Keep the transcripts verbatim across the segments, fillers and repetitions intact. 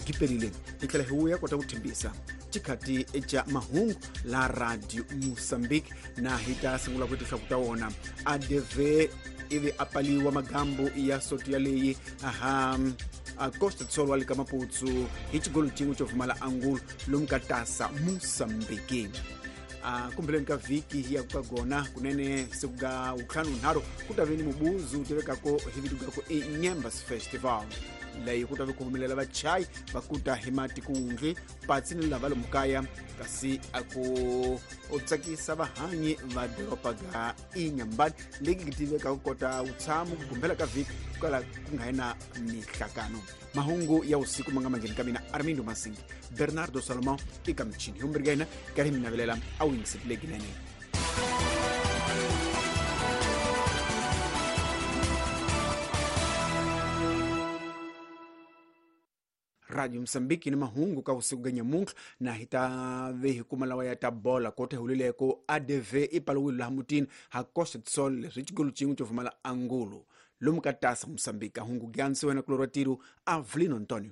Gipelile hi tlhela hi vuya kota ku thembisa xikhati xa mahungu la Radio Mozambique na hi ta sungula ku tinhlaku ta wona A D V ivi a paliwa magambo ya soto yaleyi aha a Costa do Sol wa le ka Maputsu hi xigolo xin'we xo pfumala angulo lomu ka tasa Mozambique. A kumbeleni ka vhiki ya ku ka gona kunene siku ga wutlhanu nharhu ku ta ve ni mubuzu wu tivekako hi vito ga ku i Nyembas Festival leyi ku ta ve ku humelela vachayi va kuta hi matikundli patsi ni lava lomu kaya kasi a ku u tsakisa vahanyi va doroba ga Inhambane leyi tivekaka kota vutshamo ku gumbela ka vhiki kwala ku nga na mihlakano. Mahungu ya usiku manga mangheni ka mina Armindo Masingi Bernardo Salomão eka michini humbirhi ka hina karhi mi navelela a wu yingiserile kinene. Radio Mozambique ni mahungu ka usiku ga nyamuntlha na hi ta ve hi kuma lawa ya ta bola kota hulileko A D V i paliwile laha mutini ha Costa do Sol leswi xigolo xin'we xo pfumala angulo lomu ka tasa Mozambique. Hungu gyansi wena kulorwa tiro Avelino Antonio.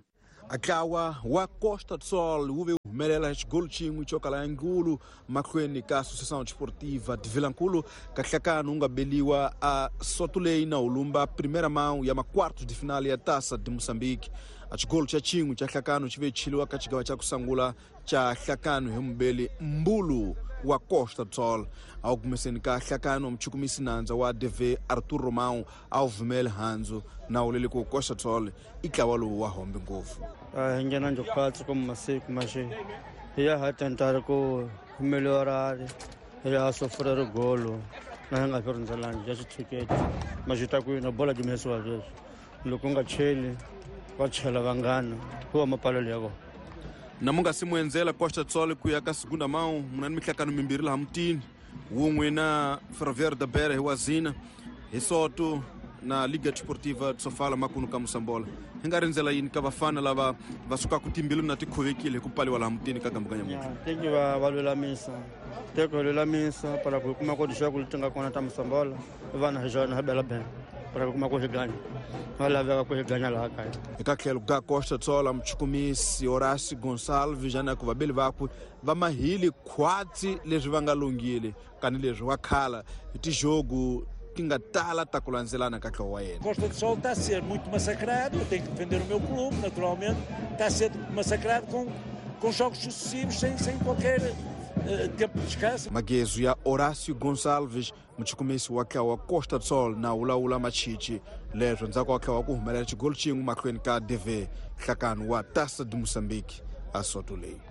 Ntlawa wa Costa do Sol wu ve humelela hi xigolo xin'we xo kala angulo mahlweni ka Associação Desportiva de Vilankulu ka nhlakano wu nga beliwa a soto leyi na hulumba primeira mão ya maquartos de final ya Taça de Moçambique. A xigolo xa xin'we xa nhlakano xi ve chiliwa ka xigava xa ku sungula xa nhlakano hi mubeli Mbulu wa Costa do Sol. A wu kumeseni ka nhlakano muchukumisi nandza wa A D V Arthur Romão a wu vumeli handzu na wulele ku Costa do Sol i ntlawa lowu wa hombe ngopfu. Hi nghena njhokatsi ku masiku maxi hi ya ha tentare ku melhorare hi ya sofrer golo na hi nga fi rindzelangi ya xitshuketi maxi ta ku na bola dimesiwa sweswi loko u nga cheli va chela vanghana hi wa mapalelo ya vona. Na mu nga si mu endzela Costa do Sol ku ya ka segunda mão muna ni mihlakano mimbirhi laha mutini wun'we na Ferroviário da Beira hi Wazina hi Soto na Liga Desportiva de Sofala makunu ka Moçambola. Hi nga rindzela yini ka vafana lava va sukaka timbilu na ti khovekile hi ku paliwa laha mutini ka gambu ka nyamuntlha? Teki va va lulamisa teki va lulamisa para ku kuma ku tixaku leti nga kona ta Moçambola vana hi xona hi bela bela para ku kuma ku hi ganya va laveka ku hi ganya laha kaya. Eka tlhelo ka Costa do Sol muchukumisi Horácio Gonçalves na ku vabeli vakwe va mahili khwatsi leswi va nga lunghile kanileswi wa khala hi tijogo ti nga tala ta ku landzelana ka ntlawa wa yena. Costa do Sol está a ser muito massacrado, eu tenho que defender o meu clube, naturalmente, está a ser massacrado com, com jogos sucessivos, sem, sem qualquer uh, tempo de descanso. Magezo ya Horácio Gonçalves, muchukumisi wa ntlawa wa Costa do Sol na wulawula machichi leswo ndzhaku wa ntlawa ku humelela xigolo xin'we mahlweni ka A D V nhlakano wa Taça de Moçambique a soto leyi.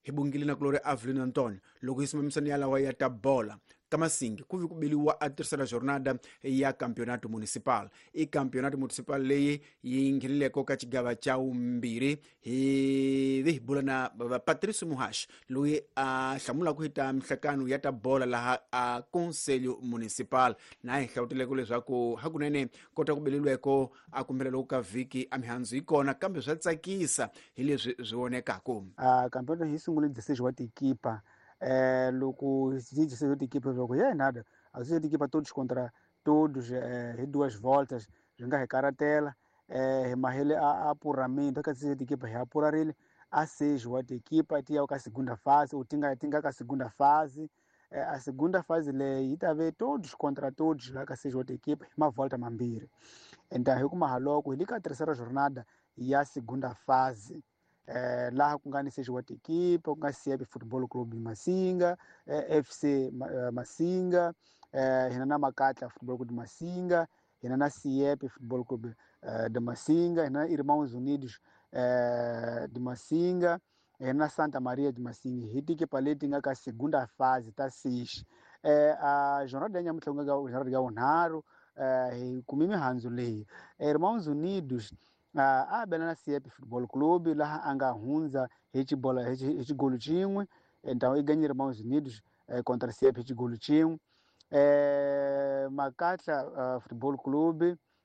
Hi bungile na kulori Avelino Antonio loko hi simamisana ya lawa ya ta bola ka Masingi ku vi ku beliwa a terceira jornada ya Campeonato Municipal. I Campeonato Municipal leyi yi ngheneleko ka xigava xa vumbirhi hi vi hi bula na Patricio Muhashi loyi a hlamulaka hi ta mihlakano ya ta bola laha a Conselho Municipal na hi hlawuteleko leswaku hakunene kota ku beleliweko a kumbela loko ka vhiki a mihandzu yi kona kambe swa tsakisa hi leswi swi vonekaka. A campeonato hi sungule dezesseis wa tikipa. Eh, loko dezesseis de equipa loko yeah, nada as de equipa todos contra todos eh, hi duas voltas swi nga hi karatela eh, mahele a apuramento ka dezesseis de equipa hi apurarile a seis wa equipa ti ya ka segunda fase ou tinga tinga ka segunda fase eh, a segunda fase leyi yi ta ve todos contra todos la ka seis wa equipa hi mavolta mambirhi. Então hi kuma haloko hi le ka terceira jornada ya segunda fase eh, laha ku nga ni seis wa equipa ku nga C F Football Club Masinga eh, F C Masinga eh, hina na Makatla Football Club Masinga hina na C F Football Club eh, de Masinga hina na Irmãos Unidos eh, de Masinga hina na Santa Maria de Masinga hi tikipa leti nga ka segunda fase ta seis eh, a jornada ya nyamuntlha ku nga jornada ya vunharhu eh, hi kume mihandzu leyi Irmãos Unidos a bela na C F Football Club laha a nga hundza hi xibola hi xigolo xin'we então i ganyile Irmãos Unidos eh, contra C F hi xigolo xin'we eh, Makatla uh, Football Club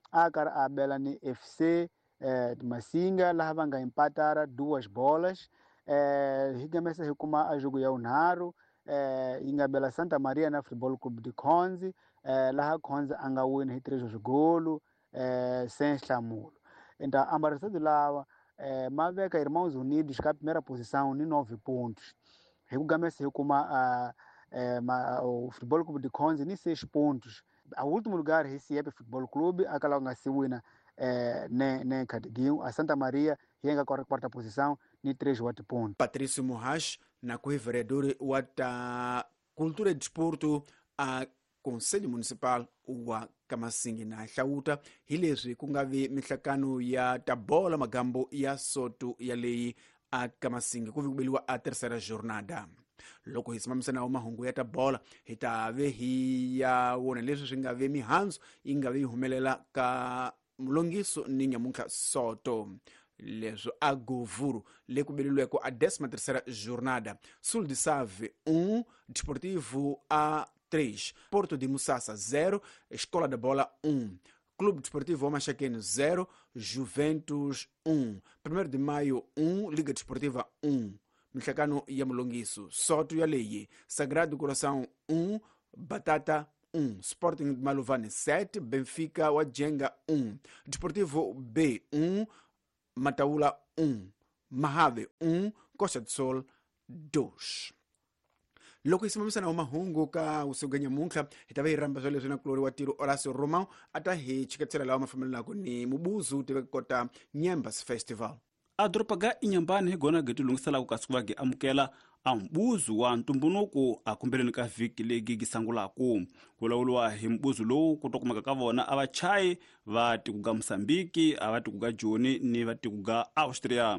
a karhi a bela ni F C eh, Masinga laha va nga empatara duas bolas eh, hi gamesa hi kuma a jogo ya vunharhu eh, yi nga bela Santa Maria na Football Club de Khonzi eh, laha Khonzi a nga wina hi três swigolo eh, sem nhlamulo. Então amba resultado lawa eh, ma veka Irmãos Unidos ka primeira posição ni nove pontos. Hi ku gamesa hi kuma uh, eh, ma, o Futebol Clube de Conze ni seis pontos. A último lugar hi Siepe Futebol Clube, aquela nga se wina eh, ne ne Cadiguinho, a Santa Maria hi nga quarta posição ni três oito pontos. Patrício Morras na ku vereador wa ta Cultura e Desporto a Conselho Municipal wa Kamasingi na hlawuta hi leswi ku nga vi mihlakano ya tabola magambo ya soto ya leyi a Kamasingi ku vi ku beliwa a terceira jornada. Loko hi simamisa nawo mahungu ya tabola hi ta ve hi ya wona leswi swi nga ve mihandzu yi nga vi yi humelela ka mulongiso ni nyamuntlha soto. Leswo a Govuro le ku beleliweko a décima terceira jornada. Sul de Save um, Desportivo a três, Porto de Musasa zero, Escola da Bola um, Clube Desportivo Omachaqueno zero, Juventus um, primeiro de Maio um, Liga Desportiva um, Michacano ya Mulongiso, Soto ya Leie, Sagrado Coração um, Batata um, Sporting de Maluvane sete, Benfica Wajenga um, Desportivo B um, Mataula um, Mahave um, Costa do Sol dois. Loko hi simamisa na mahungu ka usuganya muntlha hi ta va hi rhamba swa leswi na kulori wa tiro Horacio Romão a ta hi chiketsela lawa ma fambelanaku ni mubuzu tiva kota Nyembas Festival. A doroba ga Inhambane hi gona gi tilunghiselaka kasi ku va gi amukela a mbuzu wa ntumbuluko a kumbeleni ka vhiki leyi gi sangulaku. Ku lawuriwa hi mbuzu lowu ku to kumeka ka vona a vachayi va tiko ga Mozambique, a va tiko ga Joni ni va tiko ga Austria.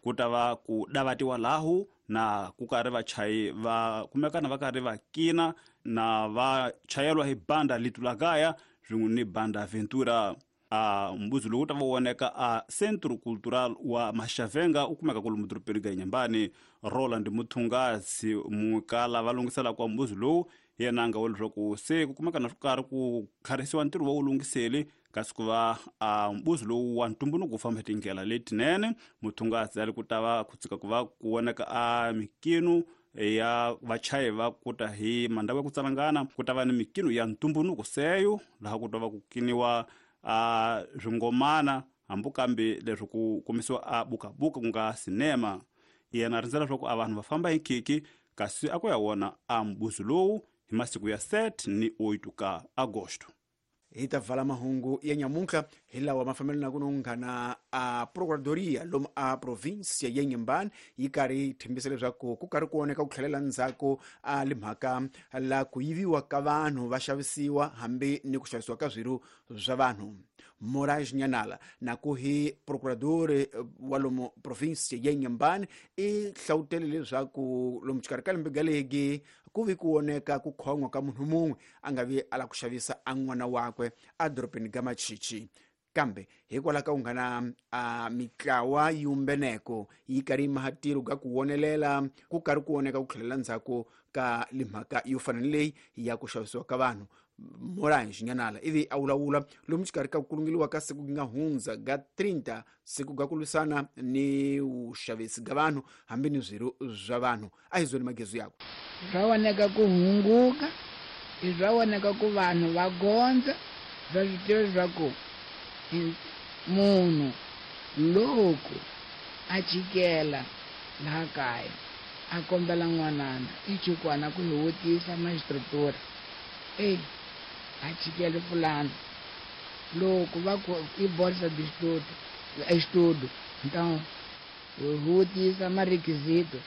Ku ta va ku davatiwa lahu na ku karhi vachayi va kumekana va karhi va kina na va chayelwa hi banda Litulagaya swin'we ni banda Ventura. A mbuzu lowu ta va voneka a Centro Cultural wa Maxavenga u kumeka kwalomu dorobeni ga Inhambane. Roland Muthungasi mukala va lunghiselaka wa mbuzu lowu yena a nga vula leswaku se ku kumeka na swo karhi ku kharisiwa ntirho wa wu lunghiseli kasi ku va a mbuzu lowu wa ntumbuluko wu famba hi tindlela letinene. Muthungasi a ri ku ta va ku tshika ku va ku voneka a mikino ya vachayi va kuta hi mandhawu ya ku tsalangana, ku ta va ni mikino ya ntumbuluko seyo laha ku ta va ku kiniwa a swingomana hambi kambe leswi ku kumisiwa a bukabuka ku nga sinema. Yena rindzela leswaku a vanhu va famba hi khiki kasi a ku ya wona a mbuzu lowu hi masiku ya sete ni oito ka agosto. Hi ta vala mahungu ya nyamuntlha hi lawa ma fambelanaka no nghana a procuradoria lomu a provincia ya Inhambane yi karhi yi tshembisa leswaku ku karhi ku oneka ku tlhelela ndzhaku a le mhaka la ku yiviwa ka vanhu va xavisiwa hambi ni ku xavisiwa ka swirho swa vanhu. Moraes Nyanala na ku hi procurador wa lomu provincia ya Inhambane i hlawutele leswaku lomu xikarhi ka lembe galegi ku vi ku oneka ku khon'wa ka munhu mun'we a nga vi a la ku xavisa a n'wana wakwe a dorobeni ga Machichi. Kambe hikwalaho ka ku nghana a mitlawa yumbeneko yi karhi yi maha tiro ga ku wonelela ku karhi ku oneka ku tlhelela ndzhaku ka limhaka yo fana ni leyi ya ku xavisiwa ka vanhu. Moraes Nyanala ivi a vulavula lomu xikarhi ka ku kulungeliwa ka siku nga hundza ga trinta siku ga ku lwisana ni vuxavisi ga vanhu hambi ni swirho swa vanhu. A hi zweni magezu yakwe. Swa voneka ku hunguka, i swa voneka ku vanhu va gondza, va swi tiva leswaku munhu loko a chikela laha kaya a kombela n'wanana i chukwana ku hi vutisa magistratura ei a chikele fulano loko va ku i bolsa de estudo estudo então vutisa marequisito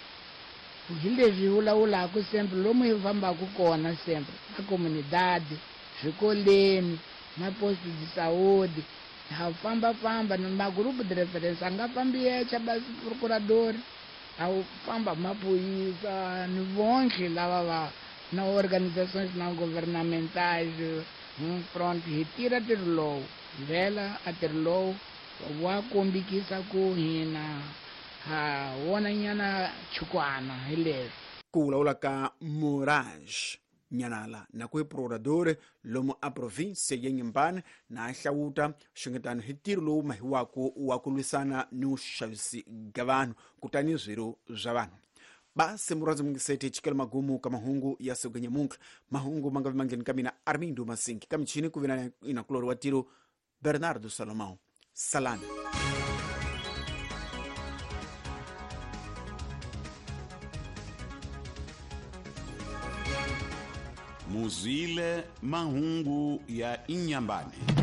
hi leswi hi vulavulaka sempre lomu hi fambaka kona sempre na comunidade swikoleni na posto de saúde ha famba-famba ni magrupo de referência a nga fambi yexe basi procurador a wu famba maphorisa ni vonke lava va na organizações não governamentais pronto hi tirha ntirho lowu vhela a ntirho lowu wa kombikisa ku hina ha wona nyana chukwana hi leswi. Ku vulavula ka Moraes Nyanala na ku hi procurador lomu a provincia ya Inhambane na hlawuta xungetano hi ntirho lowu mahiwaka wa ku lwisana ni vuxavisi ga vanhu kutani swirho swa vanhu. Basi murhandzi mungiseti chikela magumu ka mahungu ya siku ga nyamuntlha. Mahungu ma nga vi mangheni ka mina Armindo Masinki ka michini ku vi na inakulori wa tiro Bernardo Salomão. Salani. Muzwile mahungu ya Inyambane.